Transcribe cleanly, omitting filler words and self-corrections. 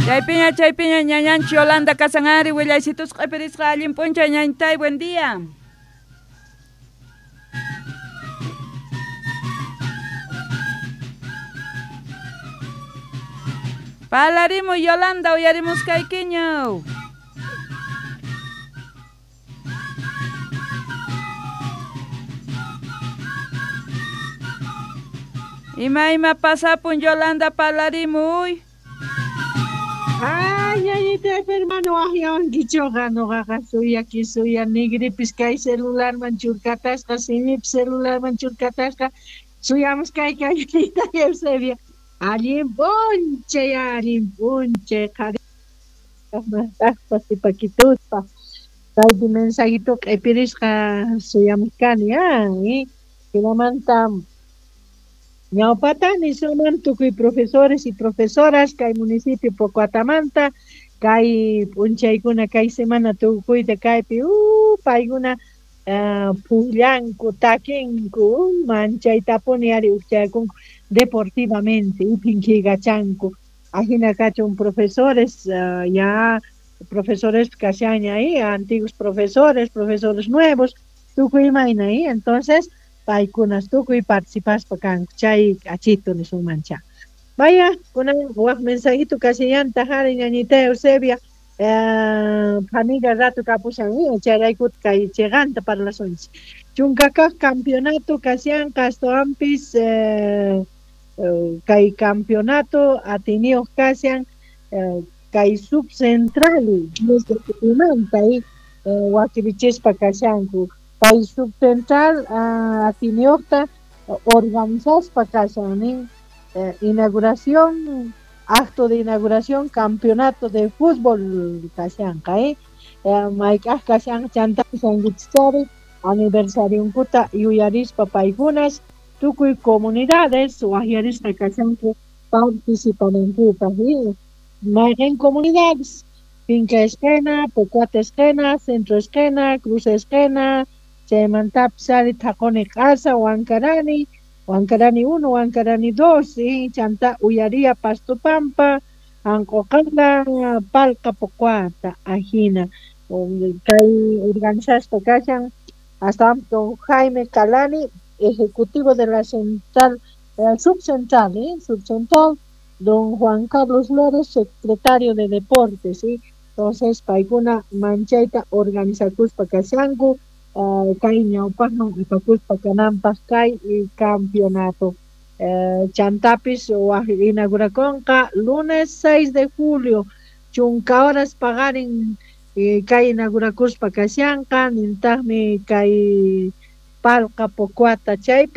Chaypiña ñañanchi Yolanda Casanari willaysitus q'ipirisqa allin p'unchay ñañtay, buen día. Palarimu Yolanda uyarimuskaykiñu. Ima pasapun Yolanda palarimuy. Ay, ñañita hermano, waqyawankichuqa nuqaqa suyaki suya nigripis kay celularman churkatasqa, simipis celularman churkatasqa, suyamuskayki ñañita Eusebia. Allin p'unchay qhari sipakituspa kaypi mensajito q'ipirisqa suyamuskani hinamanta ñawpata nisuman tukuy profesores y profesoras kay municipio Pocoatamanta kay p'unchaykuna kay semana tukuyta kaypi paykuna pukllanku takinku manchaytapuni ari ukchayakunku deportivamente iphinkigachanku ajina kachun profesores ya profesores kashaña antiguos profesores, profesores nuevos tukuy imayna entonces paykunas tukuy participaspa kanku chay k'achitu nisunmancha. Vaya, kunan wak mensajito kashallanta jari ñañita Eusebia phaniga rato kapushan chayraykut kay chiqanta parlasunchik. Chunkakaq campeonato kashanqa astawanpis kay campeonato atiniyuq kashan kay subcentral manta wakirichispa kashanku. Kay subcentral atiniyuqta organizaspa kashan nin inauguración, acto de inauguración campeonato de fútbol kashanqa mayk'aq kashan chantapis ankichichari aniversarionkuta yuyarispa paykunas tukuy comunidades waqyarisqa kashanku participanankupaq mayqin comunidades Finca Esquena, Pocuata Esquena, Centro Esquena, Cruz Esquena, chaymantapis ari Thaquni Q'asa, Huancarani, Huancarani 1, Huancarani 2, chanta Uyaria Pastupampa, Anqoqala, Palqa Pocuata, ajina kay organizaspa kashan hasta don Jaime Calani, ejecutivo de la central, subcentral, subcentral, don Juan Carlos Flores, secretario de Deportes, ¿sí? Entonces, paykuna manchayta organizakuspa kashanku, kay ñawpaqman apakuspa kananpaq kay campeonato. Chantapis inaugurakunqa lunes 6 de julio, chunka horas paqarin kay inaugurakuspa kashanqa, nintaqmi kay Palqa Pocuata chaypi.